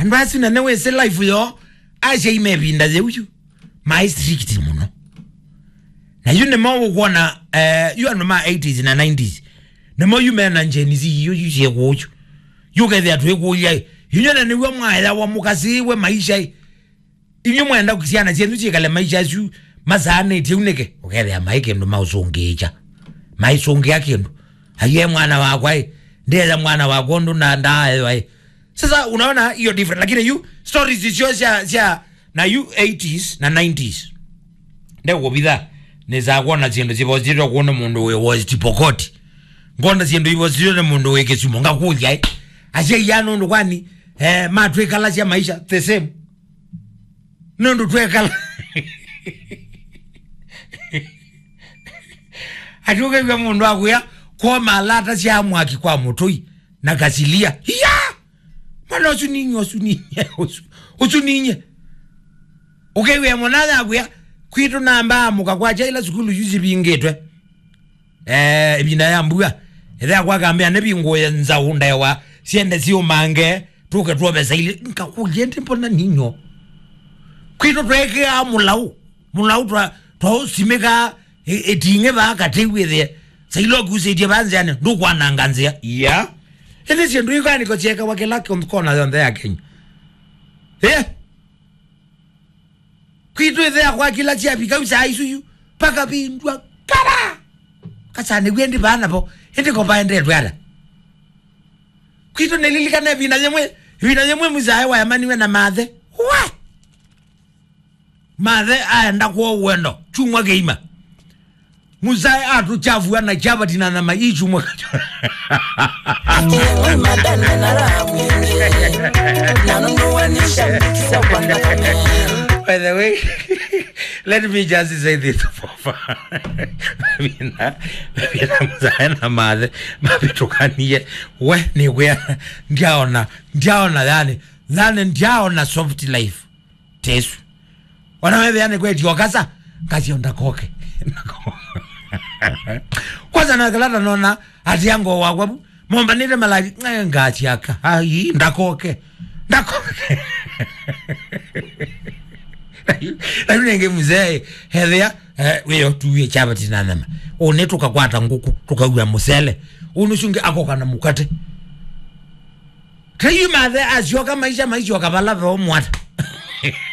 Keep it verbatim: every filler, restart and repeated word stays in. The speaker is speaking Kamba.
Andũ asu na nĩwĩsĩ life yoo, asyai me ĩvinda yĩu yu, maĩ strict mũno. Na yu nĩmo ũkwona, eh, yu andũ ma eighties na nineties, nĩmo yu mena Gen Z yu, yu syĩkũũ yu. Yu ũkethĩa twĩkũlya, ĩ, inyuĩ na nĩw'o mwayawa mũkasĩĩwe maisha, ĩ. Inyuĩ mwenda syana syenyu syĩkale maisha asu masaanĩtye ũu nĩkĩ? Ũkethĩa maĩ kĩndũ maũsũngĩĩkya. Maisũngĩa kĩndũ. Aiye mwana wakwa ĩ, ndĩetha mwana wakwa ũndũ na ndaaewa ĩ. Sasa unaona hiyo different. Lakini yu stories syo sya, sya na yu eighties na nineties. Ndekũvitha nĩsaa kwona syĩndũ syĩvositwe kuona mũndũ wĩ West Pokot. Ngona syĩndũ ivositwe nĩ mũndũ wĩ Kisumu. Ngakũlya ĩ, asyai aa nũndũ kwani, eh, matwĩkalasya maisha the same? Nũndũ twekala ati ũkew'a mũndũ akwĩa koma alata sya mwaki kwa mũtũi na kasilia. Iya! Mwana ũsu ninye, ũsu ninye, ũsu, ũsu ninye. Ũkewĩa mwana yakwĩa kwitũ namba amũka kwakya ila sukulu yu sivingĩtwe. Eh, ĩvinda ya mbua, ĩthe yakwa akambĩa nĩvingũe nzaũ ndaewa, syende syũmange, tũke twove saili. Ngakũlya ĩndĩ mbona ninyo? Kwitũ tweekĩaa mũlaũ, mũlaũ twa, twaũsimĩkaa ĩ-, ĩting'e vaa katĩ wĩthĩe. Saili ũkusĩtye vaa nzĩanĩ, ndũkwananga nzĩa. Ia. Ĩndĩ syĩndũ ikanĩko syekawa kĩla kĩon-, kona yonthe ya Kenya. Eh? Kwitũ ĩthe yakwa kĩla syavika u saa isu yu, pakavindwa kara. Kasanĩw'e ĩndĩ vaa navo, ĩndĩ ko vaendetwe ata? Kwitũ nĩlilikana ĩvinda yĩmwe, ĩvinda yĩmwe mũsae wayamaniwe na mathe. Wa! Mathe aenda kwoo wendo, kyumwa kĩima. Mũsae atũkyavua na kyavati na nyama ichumwa. By the way, let me just say this for fun. Mavina, mavina mũsae na mathe mavĩtũkanie. We nĩwĩa, ndyaona, ndyaona yani, yani ndyaona soft life tesu. Ona wethĩa nĩ kwetio kasa, ngasio ndakoke. Kwanza na kalata nona ati ango wakwa bu mombanite malaki, eh, ngasiaka. Ai, ndakoke. Ndakoke. Ai, ai nenge mzee, hethĩa, eh, wĩyo tuwe chapati na nyama. Ũnĩ tũkakwata ngũkũ, tũkaua mũsele. Ũnĩ ũcio ũngĩ akoka na mũkate. Tei mathe asyoka maisha, maisyoka vala veo mwata.